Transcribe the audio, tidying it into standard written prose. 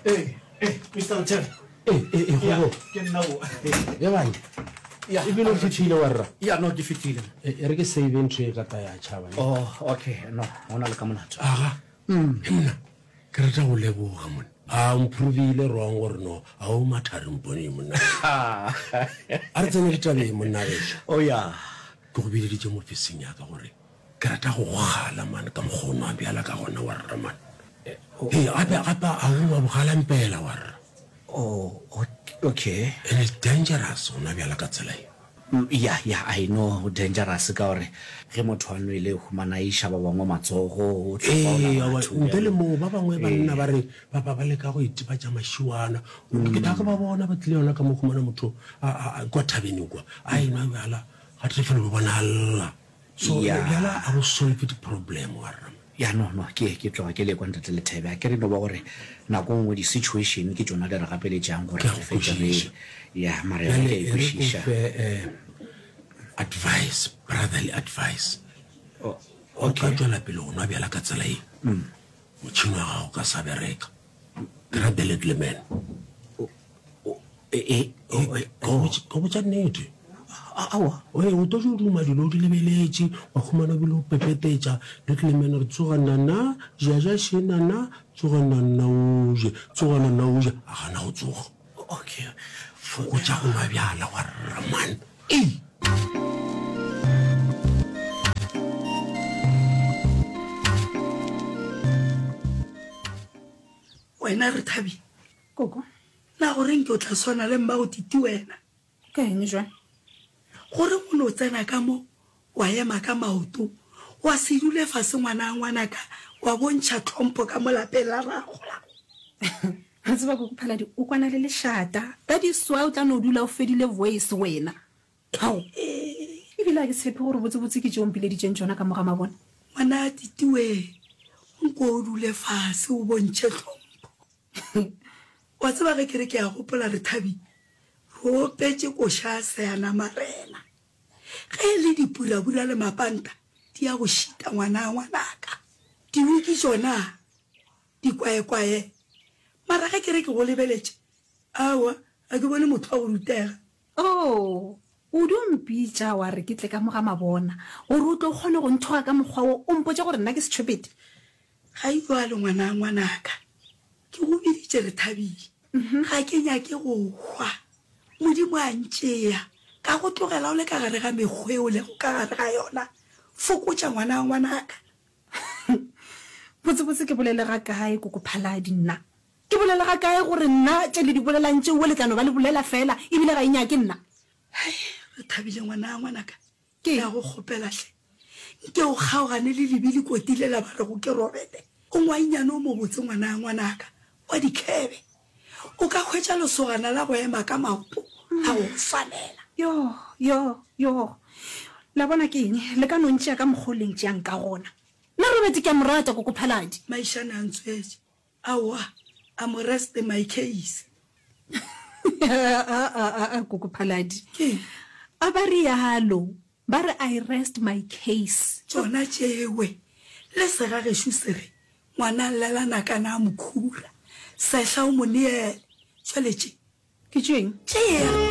Ee, ee, Mister Lethebe. Ee, ee, ee, Ya, gogo. ke nna o. Ya bane. Ya. Ebile o fihlile wa rra. Ya, no, ke fihlile. E, e re ke save ntho e ka ta ya tšhaba. ne. Oh, okay, no, go na le ka molato. Aga. He monna, ke rata go leboga monna. A o mprovile wrong gore no, a o mathari mpone monna. A re tsene ditabeng monna gešo. Oh, ya. Ke go bileditše mo ofising ya ka gore ke rata go go kgala man ka mokgwa o nwa bjala ka gona wa rra man. Ee, gape gape a o wa bogalampela wa rra. Oh, okay. And it's dangerous go nwa bjala ka tsela ye. Ya, ya, I know dangerous ka gore ge motho a nwele o humana a iša ba bangwe matsogo, o hlapaola Ee, aowa, batho ntle le bjalo. moo ba bangwe banna Ee. ba re ba ba ba leka go itebatša mašiwana. Ke tla ke ba bona ba tlile yona ka mo humana motho a a a kwa thabeneng kwa a enwa bjala ga tle fela o bona a lla. So Ya. bjala a bo solve di-problem wa rra. Ya no no ke ke tloga ke le kwa ntate Lethebe a ke re no ba gore nako nngwe di situation ke tšona di re gapeletšang gore Ke a re go fetše re kwešiša. ya mara yona Bjale ke a e e re ko kwešiša. fe eh, advice, brotherly advice. O O ka okay. tšwela pele go nwa bjala ka tsela ye, motšhene wa gago o ka sa bereka. Ke ra the little man. E, e, Ke go botša nnete. Aowa. Oye, o tlo duma dilo o di lebeletše, wa humana o bile o pepetetša. Little man re tsoga nana, ja ja še nana, tsoga nana o je, tsoga nana o je. A gana go tsoga. Okay. Fokotša go nwa bjala wa rra man. Ei! Wena Rethabile. Koko. Na go reng ke o tla swana le mmago Titi wena? Ka eng jwang? Go reng o no tsena ka mo, wa ema ka maoto, wa se dule fase ngwana ngwanaka, wa bontšha tlhompho ka mo lapeng la rrago? Re tseba Koko Phaladi o kwana le lešata. That is why o tla no dula o fedile voice wena. Ao! Ebile ga ke tshepe gore botsebotse ke tše o mpileditšeng tšona ka mo ga mabone. Ngwana Titi wee, nko o dule fase o bontšhe tlhompho. Wa tseba ge ke re ke a gopola Rethabile, re opetše koša ya Seanamarena. Ge e le dipurabura le mapanta di a go šita ngwana ngwanaka. Diwiki tšona di kwaekwae. Mara ge ke re ke go lebeletše, aowa ga ke bone motho wa go rutega. Oo, o dio mpitša wa re ke tle ka mo ga mabona gore o tle o kgone go nthoga ka mokgwa wo, o mpotše gore nna ke setšhopete. Ga e bjalo ngwana ngwanaka, ke go biditše Rethabile. Ga ke nyake go hwa. Modimo a ntšea, ka go tlogela o le ka gare ga mekgwa e o lego ka gare ga yona. Fokotša ngwana ngwanaka. Botsebotse ke bolele ga kae Koko Phaladi nna? Ke bolele ga kae gore nna tše le di bolelang tšeoe le tla no ba le bolela fela ebile ga e nyake nna? Hai, Rethabile ngwana ngwanaka, Ke Ke a go kgopela hle, nke o kgaogane le lebe lekoti lela ba rego ke Robete. O ngwainyane o mobotse ngwana ngwanaka wa dikhebe. O ka hwetša lesogana la go ema ka maoto la go go swanela. Yo, yo, yo. La bona ke eng? Le ka no ntšea ka mokgwa o le ntšeang ka gona. Nna Robete ke a mo rata, Koko Phaladi. Maišane a ntswetše. Aowa, a mo rest my case. Aa, Koko Phaladi. Ke eng? A ba realo, ba re I rest my case. Tšona tšewe. Le segagešo se re, ngwana llela nakana a mokhura, sehla o mo neele. Jwale tše. Ke tšeng? Tšea.